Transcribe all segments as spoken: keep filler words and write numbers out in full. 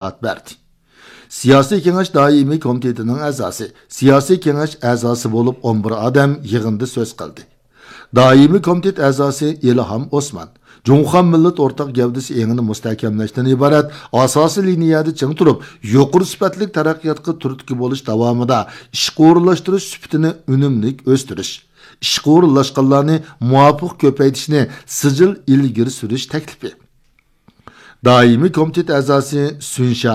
ئىزاھات بەردى. سىياسىي كېڭەش دائىمىي كومىتېتىنىڭ ئەزاسى، سىياسىي كېڭەش ئەزاسى بولۇپ ئون بىر ئادەم يىغىندا سۆز قىلدى. دائىمىي كومىتېت ئەزاسى ئىلھام ئوسمان جۇڭخۇا مىللەت ئورتاق گەۋدىسى ئېڭىنى مۇستەھكەملەشتىن ئىبارەت ئاساسىي لىنىيەدە چىڭ تۇرۇپ، يۇقىرى سۈپەتلىك تەرەققىياتقا تۈرتكە بولۇش داۋامىدا ئىشقا ئورۇنلاشتۇرۇش سۈپىتىنى ئۈنۈملۈك ئۆستۈرۈش، ئىشقا ئورۇنلاشقانلارنى مۇۋاپىق كۆپەيتىشنى سىجىل ئىلگىرى سۈرۈش تەكلىپى. دائىمىي كومىتېت ئەزاسى سۈنشا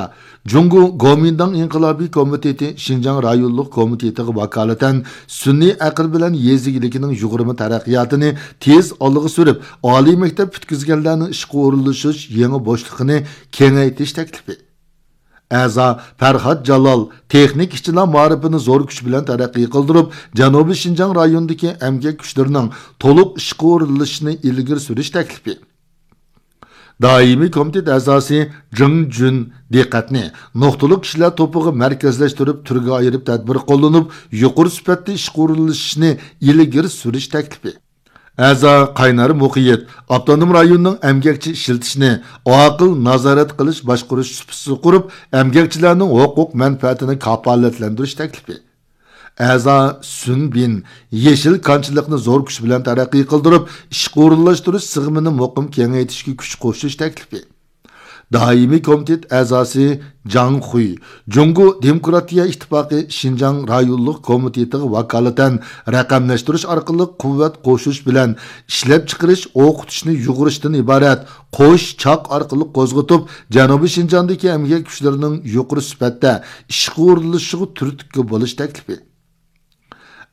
جۇڭگو گومىنداڭ ئىنقىلابىي كومىتېتى شىنجاڭ رايونلۇق كومىتېتىغا ۋاكالىتەن سۈنئىي ئەقىل بىلەن يېزا ئىگىلىكىنىڭ يۇغۇرما تەرەققىياتىنى تېز ئالغا سۈرۈپ، ئالىي مەكتەپ پۈتكۈزگەنلەرنىڭ ئىشقا ئورۇنلىشىش يېڭى بوشلۇقىنى كېڭەيتىش تەكلىپى. ئەزا پەرھات جالال تېخنىكا ئىشچىلار مائارىپىنى زور كۈچ بىلەن تەرەققىي قىلدۇرۇپ، جەنۇبىي شىنجاڭ رايونىدىكى ئەمگەك كۈچلىرىنىڭ تولۇق ئىشقا ئورۇنلىشىشىنى ئىلگىرى سۈرۈش تەكلىپى. دائىمىي كومىتېت ئەزاسى جېڭ جۈن دىققەتنى نۇقتىلىق كىشىلەر توپىغا مەركەزلەشتۈرۈپ، تۈرگە ئايرىپ تەدبىر قوللىنىپ، يۇقىرى سۈپەتتە ئىشقا ئورۇنلىشىشنى ئىلگىرى سۈرۈش تەكلىپى. ئەزا قاينار مۇقىيىت ئاپتونوم رايوننىڭ ئەمگەكچى ئىشلىتىشنى ئاقىل نازارەت قىلىش باشقۇرۇش سۇپىسى قۇرۇپ، ئەمگەكچىلەرنىڭ ھوقۇق مەنپەئەتىنى كاپالەتلەندۈرۈش تەكلىپى. ئەزا سۈن بىن يېشىل كانچىلىقنى زور كۈچ بىلەن تەرەققىي قىلدۇرۇپ، ئىشقا ئورۇنلاشتۇرۇش سىغىمىنى مۇقىم كېڭەيتىشكە كۈچ قوشۇش تەكلىپى. دائىمىي كومىتېت ئەزاسى جاڭ خۇي جۇڭگو دېموكراتىيە ئىتتىپاقى شىنجاڭ رايونلۇق كومىتېتىغا ۋاكالىتەن رەقەملەشتۈرۈش ئارقىلىق قۇۋۋەت قوشۇش بىلەن ئىشلەپچىقىرىش، ئوقۇتۇشنى يۇغۇرۇشتىن ئىبارەت قوش چاق ئارقىلىق قوزغىتىپ، جەنۇبىي شىنجاڭدىكى ئەمگەك كۈچلىرىنىڭ يۇقىرى سۈپەتتە ئىشقا ئورۇنلىشىشىغا تۈرتكە بولۇش تەكلىپى.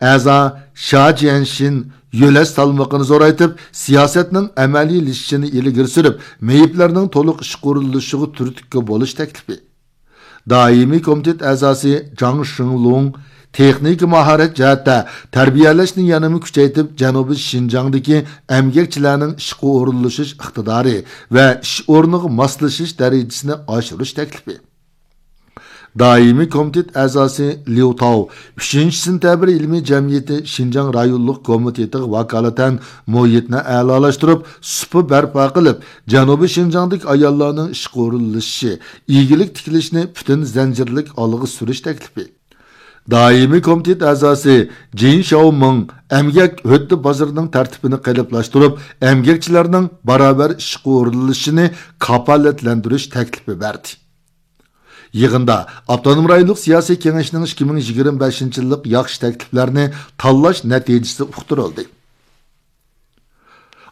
ئەزا شا جيەنشىن يۆلەش سالمىقىنى زورايتىپ، سىياسەتنىڭ ئەمەلىيلىشىشىنى ئىلگىرى سۈرۈپ، مېيىپلەرنىڭ تولۇق ئىشقا ئورۇنلىشىشىغا تۈرتكە بولۇش تەكلىپى. دائىمىي كومىتېت ئەزاسى جاڭ شېڭلۇڭ تېخنىكا ماھارەت جەھەتتە تەربىيەلەشنى يەنىمۇ كۈچەيتىپ، جەنۇبىي شىنجاڭدىكى ئەمگەكچىلەرنىڭ ئىشقا ئورۇنلىشىش ئىقتىدارى ۋە ئىش ئورنىغا ماسلىشىش دەرىجىسىنى ئاشۇرۇش تەكلىپى. دائىمىي كومىتېت ئەزاسى ليۇ تاۋ ئۈچىنچى سېنتەبىر ئىلمىي جەمئىيىتى شىنجاڭ رايونلۇق كومىتېتىغا ۋاكالىتەن مۇھىتنى ئەلالاشتۇرۇپ، سۇپا بەرپا قىلىپ، جەنۇبىي شىنجاڭدىكى ئاياللارنىڭ ئىشقا ئورۇنلىشىشى، ئىگىلىك تىكلىشىنى پۈتۈن زەنجىرلىك ئالغا سۈرۈش تەكلىپى. دائىمىي كومىتېت ئەزاسى جىن شياۋمىڭ ئەمگەك ھۆددە بازىرىنىڭ تەرتىپىنى قېلىپلاشتۇرۇپ، ئەمگەكچىلەرنىڭ باراۋەر ئىشقا ئورۇنلىشىشىنى كاپالەتلەندۈرۈش تەكلىپى بەردى. يىغىندا ئاپتونوم رايونلۇق سىياسىي كېڭەشنىڭ ئىككى مىڭ يىگىرمە بەشىنچى يىللىق ياخشى تەكلىپلەرنى تاللاش نەتىجىسى ئۇقتۇرۇلدى.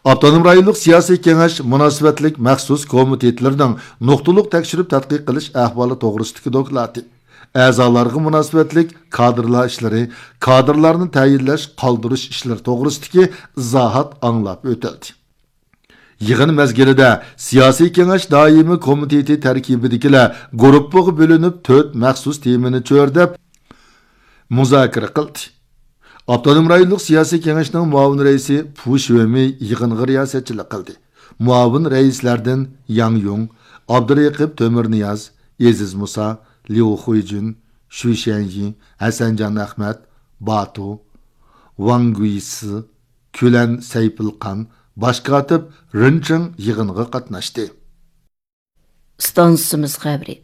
ئاپتونوم رايونلۇق سىياسىي كېڭەش مۇناسىۋەتلىك مەخسۇس كومىتېتلىرىنىڭ نۇقتىلىق تەكشۈرۈپ تەتقىق قىلىش ئەھۋالى توغرىسىدىكى دوكلاتى، ئەزالارغا مۇناسىۋەتلىك كادىرلار ئىشلىرى، كادىرلارنى تەيىنلەش، قالدۇرۇش ئىشلىرى توغرىسىدىكى ئىزاھات ئاڭلاپ ئۆتۈلدى. يىغىن مەزگىلىدە سىياسىي كېڭەش دائىمىي كومىتېتى تەركىبىدىكىلەر گۇرۇپپىغا بۆلۈنۈپ، تۆت مەخسۇس تېمىنى چۆرىدەپ مۇزاكىرە قىلدى. ئاپتونوم رايونلۇق سىياسىي كېڭەشنىڭ مۇئاۋىن رەئىسى پۇ شۆمى يىغىنغا رىياسەتچىلىك قىلدى. مۇئاۋىن رەئىسلەردىن ياڭ يۇڭ، ئابدۇرېقىپ تۆمۈرنىياز، ئېزىز مۇسا، ليۇ خۇيجۈن، شۈ شيەنيى، ھەسەنجان ئەخمەت، باتۇ، ۋاڭ گۇيسى، كۈلەن سەيپىلقان، باش كاتىپ رېن چېڭ يىغىنغا قاتناشتى. ئىستانسىمىز خەۋىرى.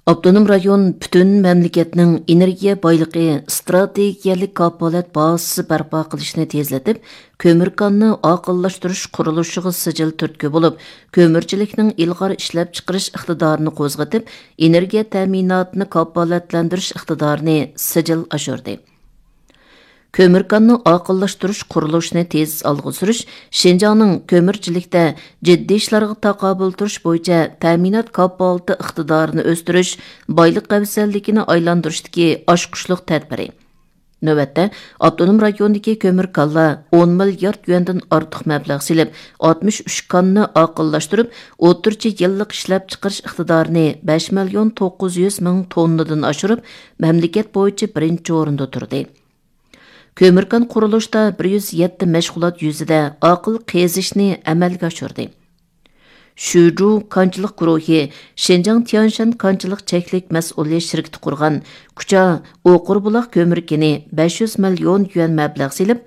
ئاپتونوم رايون پۈتۈن مەملىكەتنىڭ ئېنېرگىيە بايلىقى ئىستراتېگىيەلىك كاپالەت بازىسى بەرپا قىلىشنى تېزلىتىپ، كۆمۈر كاننى ئاقىللاشتۇرۇش قۇرۇلۇشىغا سىجىل تۈرتكە بولۇپ، كۆمۈرچىلىكنىڭ ئىلغار ئىشلەپچىقىرىش ئىقتىدارىنى قوزغىتىپ، ئېنېرگىيە تەمىناتىنى كاپالەتلەندۈرۈش ئىقتىدارىنى سىجىل ئاشۇردى. كۆمۈر كاننى ئاقىللاشتۇرۇش قۇرۇلۇشىنى تېز ئالغا سۈرۈش شىنجاڭنىڭ كۆمۈرچىلىكتە جىددىي ئىشلارغا تاقابىل تۇرۇش بويىچە تەمىنات كاپالىتى ئىقتىدارىنى ئۆستۈرۈش، بايلىق ئەۋزەللىكىنى ئايلاندۇرۇشتىكى ئاچقۇچلۇق تەدبىرى. نۆۋەتتە، ئاپتونوم رايوندىكى كۆمۈر كانلار ئون مىليارد يۈەندىن ئارتۇق مەبلەغ سېلىپ، ئاتمىش ئۈچ كاننى ئاقىللاشتۇرۇپ، ئوتتۇرىچە يىللىق ئىشلەپچىقىرىش ئىقتىدارىنى بەش مىليون توققۇز يۈز مىڭ توننىدىن ئاشۇرۇپ، مەملىكەت بويىچە بىرىنچى ئورۇندا تۇردى. كۆمۈر كان قۇرۇلۇشتا بىر يۈز يەتتە مەشغۇلات يۈزىدە ئاقىل قېزىشنى ئەمەلگە ئاشۇردى. شۈجۇ كانچىلىق گۇرۇھى شىنجاڭ تيەنشەن كانچىلىق چەكلىك مەسئۇلىيەت شىركىتى قۇرغان كۇچا ئوقۇربۇلاق كۆمۈر كېنى بەش يۈز مىليون يۈەن مەبلەغ سېلىپ،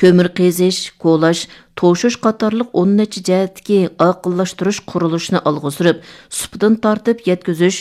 كۆمۈر قېزىش، كولاش، توشۇش قاتارلىق ئون نەچچە جەھەتتىكى ئاقىللاشتۇرۇش قۇرۇلۇشىنى ئالغا سۈرۈپ، سۇپىدىن تارتىپ يەتكۈزۈش،